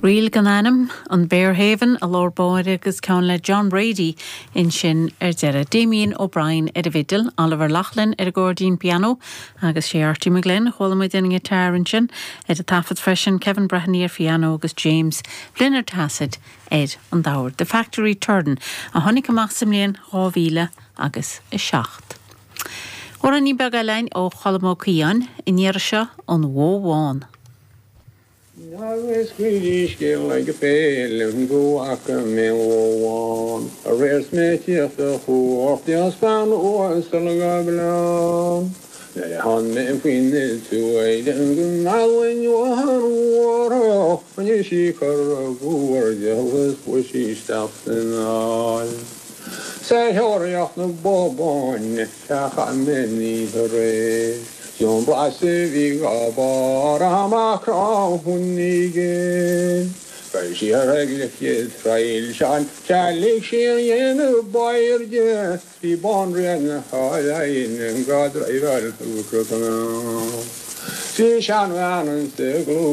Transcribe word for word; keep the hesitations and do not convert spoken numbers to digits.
Ríl gan ainm an Bearhaven i lár báire agus ceann le John Brady ansin ar deireadh. Damien O'Brien ar an bhfidil, Oliver Loughlin ar an gcairdín pianó agus sé Archie McGlynn chuala muid an giotár ansin ar an taifead freisin Kevin Breheny ar pianó agus James Flynn ar taifead ar an dord. The Factory Turn a tháinig amach sa mbliain dhá mhíle agus a seacht. Amhráinín beag eile ó Cholm Ó Caoidheáin an iarraidh seo an Bhó Bhán. Agus scéal ag féile go bhfaca mé bhó bhán aréir 's mé ag tíocht ó chuairt as bean uasal go gleann. Nuair a tháinig mé faoin tuath go mbeinn rinne sí cor bhuairdeach is sí isteach san aill. Sa thóraíocht na bó báine a mé ní aréir. Jon blas bhí gábar amach hunníge. Chuir sí ar ag trail sean telig sí an dhéanamh bairde bhí banríon na háin go driveáil. Bhí seanbhean sa ghlú